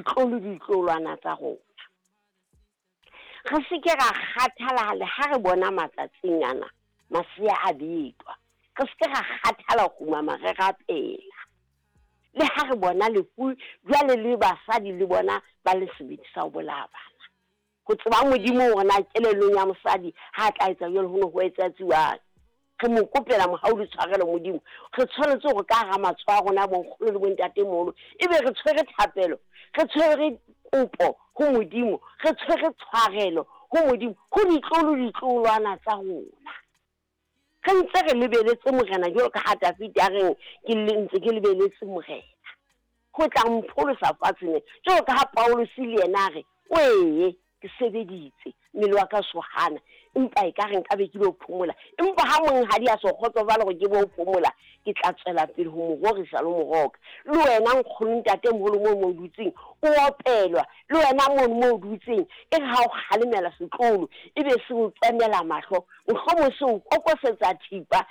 ditlolo ditloholwana tsa rona. Re se ke ra kgathala le ha re bona matsatsing ana masea a betwa. Re se ke ra kgathala ho kgumama re rapela. Le ha re bona lefu jwale le basadi le bona ba le sebete sa ho bolaya bana. Ho tseba Modimo hore na kelellong ya mosadi ha a tla etsa jwalo ho ne ho etsatsiwang. Re mo kopela mohau le tshwarelo Modimo. Re tshwanetse hore ka hara matsoho a rona bonkgono le bontatemoholo ebe re tshwere thapelo, re tshwere kopo ho Modimo, re tshwere tshwarelo ho Modimo, ho ditlolo ditloholwana tsa rona. Re ntse re lebeletse Morena jwalo ka ha Dafida a reng ke ntse ke lebeletse Morena ho tla mpholosa fatsheng lena. Jwalo ka ha Pauluse le yena a re, Wee, ke sebeditse, mmele wa ka so hana, empa e ka re nka be ke lo phomola. Empa ha monghadi a so kgotsofale hore ke bo phomola, ke tla tswela pele ho mo rorisa le ho mo roka. Le wena nkgono ntatemoholo moo mo dutseng, o opelwa, le wena mono mo o dutseng, e re ha o kgalemela setloholo, e be se o tswemela mahlo, mohlomong se o kokosetsa thipa,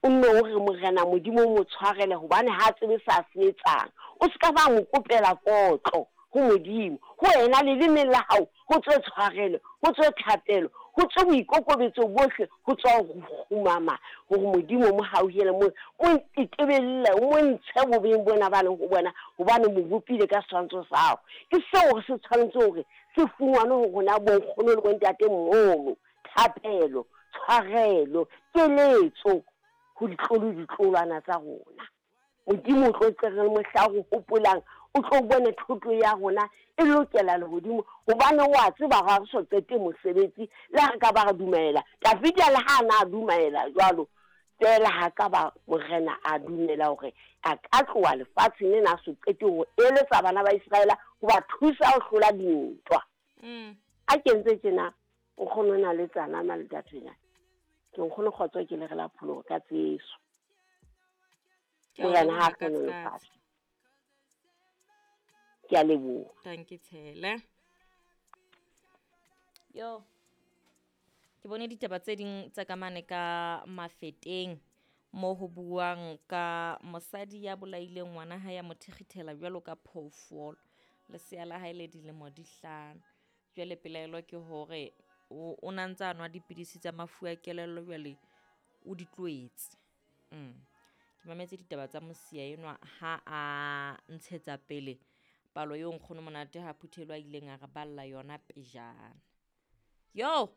o nne o re, Morena Modimo o mo tshwarele, hobane ha a tsebe se a se etsang. O se ka ba mo kopela kotlo ho Modimo. Ho wena, lelemeng la hao ho tswe tshwarelo, ho tswe thapelo, ho tswe boikokobetso bohle, ho tswa ho kgumama, hore Modimo o mo hauhele, mo, mo tetebelle, o mo ntshe bobeng bona ba leng ho bona, hobane o mo bopile ka setshwantsho sa hao. Ke seo re se tshwanetse hore se fungwane ho rona bonkgono le bontatemoholo, thapelo, tshwarelo, keletso ho ditlolo ditlolwana tsa rona. Modimo o tlo tle re mohla re hopolang, o tlo bone thoto ya rona e lokela lehodimo, hobane o a tseba ga re so qete mosebetsi, le ha re ka ba re dumela. Davida le ha a na a dumela jwalo, feela ha ka ba morena a dumela hore a ka tloha lefatsheng lena a so qete ho eletsa bana ba Iseraele ho ba thusa ho hlola dintwa. A kentse tjena, nkgono o na le tsana maletathwenya. Ke nkgono kgotso ke le re la pholoho ka tseso. Morena ha a hlohonolofatse. Ke a leboha. Thank you Tshele. Yo. Ke bone ditaba tse ding tsa ka mane ka Mafeteng mo ho buang ka mosadi ya bolaileng ngwana hae ya mo thekgithela jwalo ka phoofolo. Lesea la hae le dilemo di hlano. Jwale pelaelo ke hore o na ntse a nwa dipidisi tsa mafu a kelello jwale o di tlohetse. Ke mametse ditaba tsa mosia enwa ha a ntshetsa pele palo eo nkgono Monate ha phuthelwa a ileng a re balla yona pejana. Yo!